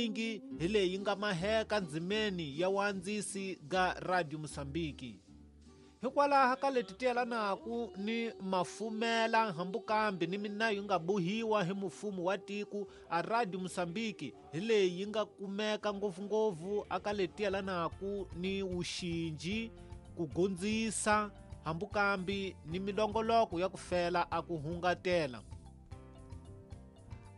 Nyingi hi leyi nga maheka ndzimeni ya wandzisi ga Radio Mosambiki. Hikwalaho ka leti ti yelanaku ni mafumela hambukambi ni minayo yi nga bohiwa hi mufumo wa tiko a Radio Mosambiki hi leyi yi nga kumeka ngopfungopfu aka leti yelanaku ni wuxinji, ku gondzisa hambukambi ni milongoloko ya ku fela a ku hungatela.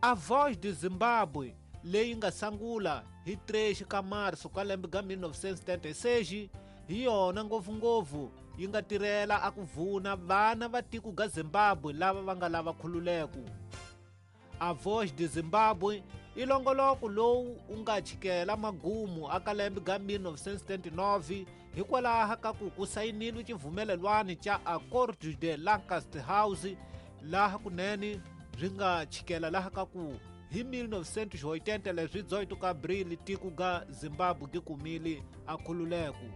A Voz de Zimbabwe leyi nga sangula hi 3 ka marso ka lembe ga 1976 hi yona ngopfungopfu yi nga tirhela a ku vuna vana va tiko ga Zimbabwe lava va nga lava khululeko. A Voz de Zimbabwe i longoloko lowu wu nga chikela magumu aka lembe ga 1979 hikwalaho ka ku ku sayinile xivumelelwano xa Acordo de Lancaster House laha kunene byi nga chikela laha ka ku hi 1980 leswi 18 ka Abril tiko ga Zimbabwe gi kumile a khululeko.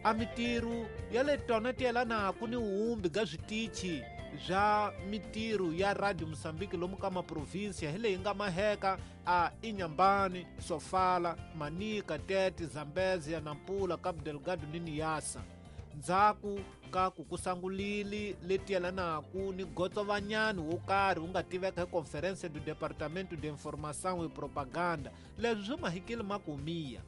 A mitirho ya le tona ti yelanaku ni wumbi ga switichi bya mitirho ya Radio Mozambique lomu ka maprovinsia hi leyi nga maheka a Inhambane, Sofala, Manica, Tete, Zambezia, Nampula, Cabo Delgado ni Niassa. Ndzhaku ka ku ku sangulile leti yelanaku ni gotsovanyani wo karhi wu nga tiveka hi Conferência do Departamento de Informação e Propaganda, leswi swi mahikile makumiya.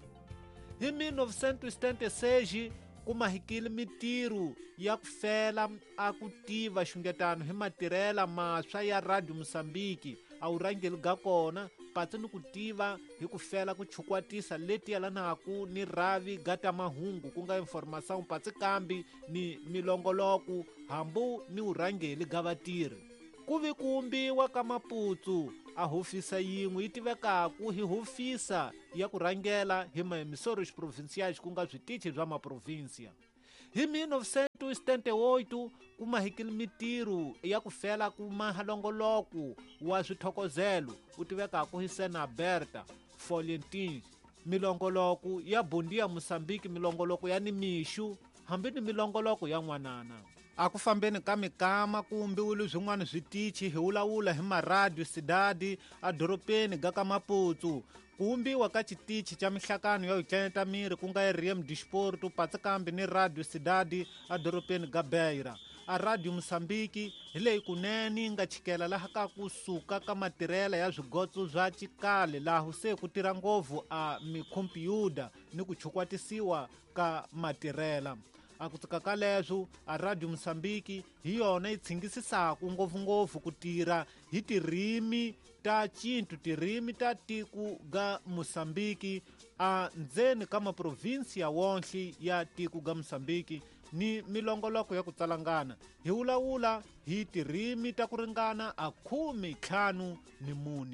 Hi 1976 ku mahikile mitirho ya ku fela a ku tiva xungetano hi matirhela maswa ya Radio Mozambique a wu rhangeli ga kona patsi ni ku tiva hi ku fela ku chukwatisa leti yelanaku ni ravi ga ta mahungu ku nga informação patsi kambi ni milongoloko hambu ni vurhangeli ga vatirhi. Ku vi ku wumbiwa ka Maputsu a hofisa yin'we yi tivekaku hi hofisa ya ku rhangela hi maemissores provinciais ku nga switichi bya maprovinsia. Hi 1978 ku mahikile mitirho ya ku fela ku maha longoloko wa swithokozelo wu tivekaku hi Sena Aberta Folhetins, milongoloko ya Bom Dia Mozambique, milongoloko ya Nimixu hambi ni milongoloko ya n'wanana. A ku fambeni ka mikama ku wumbiwile swin'wana switichi hi wulawula hi maradio Cidade a doropeni ga ka Maputsu. Ku wumbiwa ka xitichi xa mihlakano ya ku miri ku nga RM Disporto patsi kambi ni Radio Cidade a doropeni ga Beira. A Radio Mozambique hi leyi kunene yi nga chikela laha ka ku suka ka matirhela ya swigotso swa xikale laha se ku tirha ngopfu a mikhompyuta ni ku chukwatisiwa ka matirhela. A ku tsika ka leswo a Radio Mozambique hi yona yi tshingisisaka ngopfungopfu ku tirha hi tirimi ta cintu tirimi ta tiko ga Mozambique a ndzeni ka maprovinsia wonhle ya tiko ga Mozambique ni milongoloko ya ku tsalangana hi wulawula hi tirimi ta ku ringana a 54.